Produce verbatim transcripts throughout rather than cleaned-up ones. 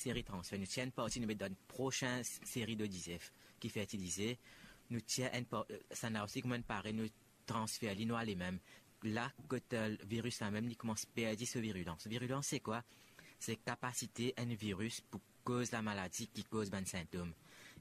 seri transfer, nou tir enn parti, nou met dan prosin seri de dizef ki fertilize, nou tir enn par-, sannla osi kouma enn pare, nou transfer li, nou ale mem. La kot, eh, viris la mem, li koumans perdi so virilans. Virilans, se kwa? Se kapasite enn viris pou koz lamaladi ki koz bann sintom.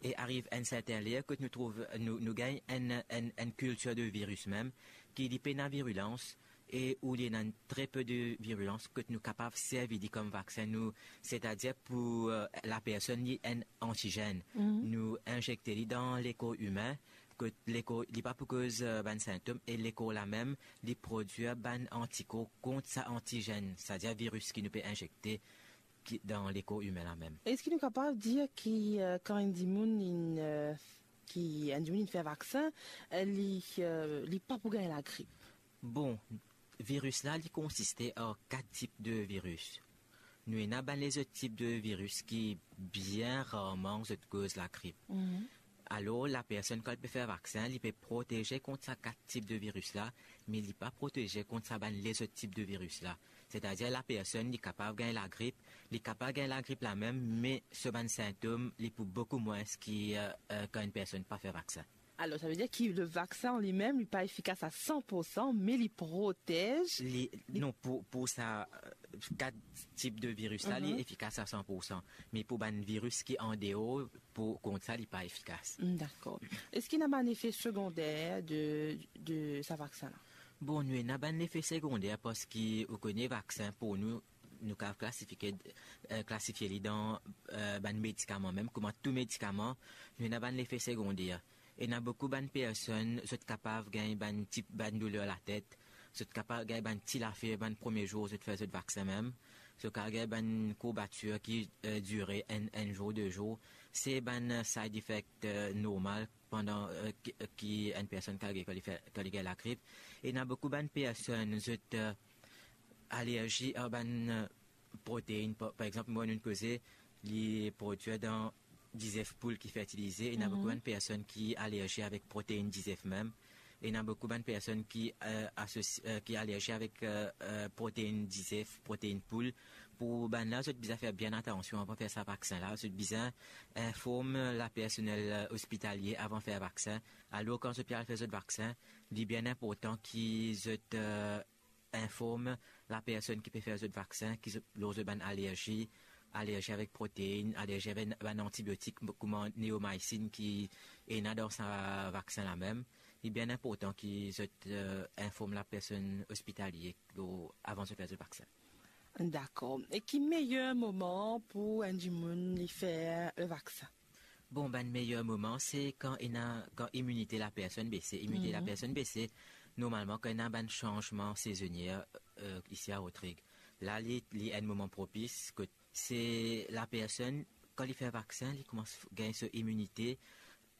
E ariv enn sertin ler kot nou trouv, nou, nou gagn enn, enn, enn kiltir de viris mem, ki li pena virilans, e ou li ena tre pe de virilans, kot nou kapav servi li kom vaksin, nou, setadir pou, eh, lapersonn li enn antizenn. Nou inzekte li dan lekor imin, kot lekor, li pa pou koz, eh, bann sintom, e lekor la mem, li prodwir bann antikor kont sa antizenn, setadir viris ki nou pe inzekte ki, dan lekor imin la mem. Eski nou kapav dir ki, eh, kan enn dimoun inn, eh, ki enn dimoun inn fer vaksin, eh, li, eh, li pa pou gagn lagrip? Bon, viris la, li konsiste ar kat tip de viris. Nou ena bann lezot tip de viris ki bien rarman zot koz lagrip. Alor, lapersonn, kan li pe fer vaksin, li pe proteze kont sa kat tip de viris la, me li pa proteze kont sa bann lezot tip de viris la. Setadir, lapersonn, li kapav gagn lagrip, li kapav gagn lagrip la mem, me so bann sintom, li pou boukou mwins ki, eh, eh, kan enn personn pa fer vaksin. Alor, savedir ki le vaksin an limem, li pa efikas a san pour san, me li protez. Li, non, pou, pou sa, eh, kat tip de viris la, li efikas a san pour san. Me pou bann viris ki andeor, pou, kont sa, li pa efikas. Mm, dakor. Eski ena bann lefe segonder de, de sa vaksin la? Bon, nou ena bann lefe segonder parski ou kone vaksin pou nou, nou kapav klasifie, eh, klasifie li dan, eh, bann medikaman mem, kouma tou medikaman, nou ena bann lefe segonder. Ena boukou bann personn, zot kapav gagn bann ti, bann douler latet, zot kapav gagn bann ti lafer bann premie zour zot fer zot vaksin mem, zot kapav gagn bann kourbatir ki, eh, dire enn, enn zour, de zour. Se bann, eh, side effect, eh, normal pandan, eh, ki, ki enn personn kapav gagn kan li fer, kan li gagn lagrip. Ena boukou bann personn, zot, eh, alerzi ar bann, eh, protein. Pa, par exanp, mwa, nou koze, li prodwir dan dizef poul ki fertilize. Ena boukou bann personn ki alerzi avek protein dizef mem. Ena boukou bann personn ki, eh, asosi-, eh, ki alerzi avek, eh, eh, protein dizef, protein poul. Pou bann la, zot bizin fer bien atansion avan fer sa vaksin la. Zot bizin inform lapersonel, eh, ospitalie avan fer vaksin. Alor, kan zot pe al fer zot vaksin, li bien inportan ki zot, eh, inform lapersonn ki pe fer zot vaksin, ki zot, lor zot bann alerzi, alerzi avek protein, alerzi avek bann antibiotik, kouma neomycin ki ena dan sa vaksin la mem. Li bien inportan ki zot, eh, inform lapersonn ospitalie lor, avan zot fer zot vaksin. Dakor. E ki meyer moman pou enn dimoun li fer le vaksin? Bon, bann meyer moman, se kan ena, kan iminite lapersonn bese. Iminite lapersonn bese, normalman, kan ena bann sanzman sezonier, eh, isi a Rodrig. La, li, li enn moman propis, kot se lapersonn, kan li fer vaksin, li koumans f-, gagn so iminite,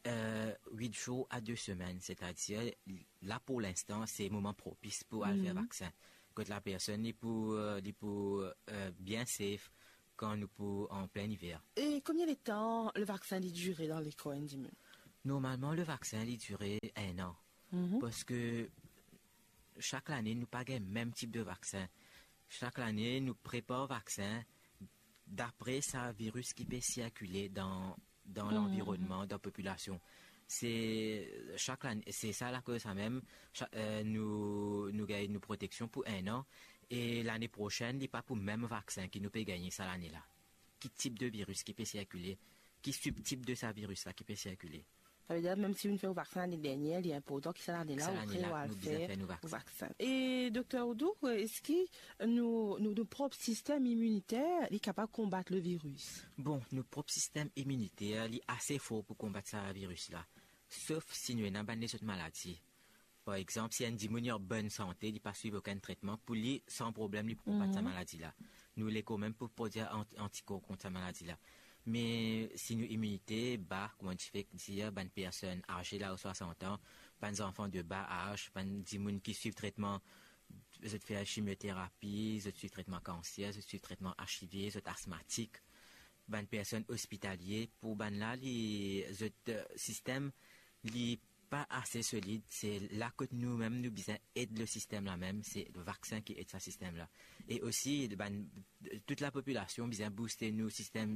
eh, wit zour a de semenn, setadir, la, pou linstan, se moman propis pou al fer vaksin. Kot lapersonn, li pou, eh, li pou, eh, bien safe, kan nou pou an plin iver. E konbien letan le vaksin li dire dan lekor enn dimoun? Normalman, le vaksin li dire enn an. Parski sak lane, nou pa gagn mem tip de vaksin. Sak lane, nou prepar vaksin dapre sa viris ki pe sirkile dan, dan lanvironnman, dan popilasion. Se sak lane, se sa lakoz sa mem, sa, eh, nou, nou gagn nou proteksion pou enn an, e lane prosenn, li pa pou mem vaksin ki nou pe gagne sa lane la. Ki tip de viris ki pe sirkile, ki sibtip de sa viris la ki pe sirkile. Savedir, mem si ou fer ou vaksin lane dernie, li inportan ki sa lane la, ou al fer ou vaksin. E Dokter Oudou, eski nou, nou, nou prop sistem iminiter, li kapav konbat le viris? Bon, nou prop sistem iminiter, li ase for pou konbat sa viris la. Sof si nou ena bann lezot maladi. Par exanp, si enn dimoun li an bonn sante, li pa swiv okenn tretman, pou li, san problem, li pou konbat sa maladi la. Nou lekor mem pou prodwir ant-, antikor kont sa maladi la. Me si nou iminite ba, kouma ti fek dir, bann personn aze la o swasant an, bann zanfan de ba az, bann dimoun ki swiv tretman, zot fer chimioterapi, zot swiv tretman kanser, zot swiv tretman HIV, zot asmatik, bann personn ospitalie, pou bann la, li, zot, eh, sistem, li pa ase solid, se la kot nou mem nou bizin ed le sistem la mem, se vaksin ki ed sa sistem la. E osi, bann, tout lapopilasion bizin bouste nou sistem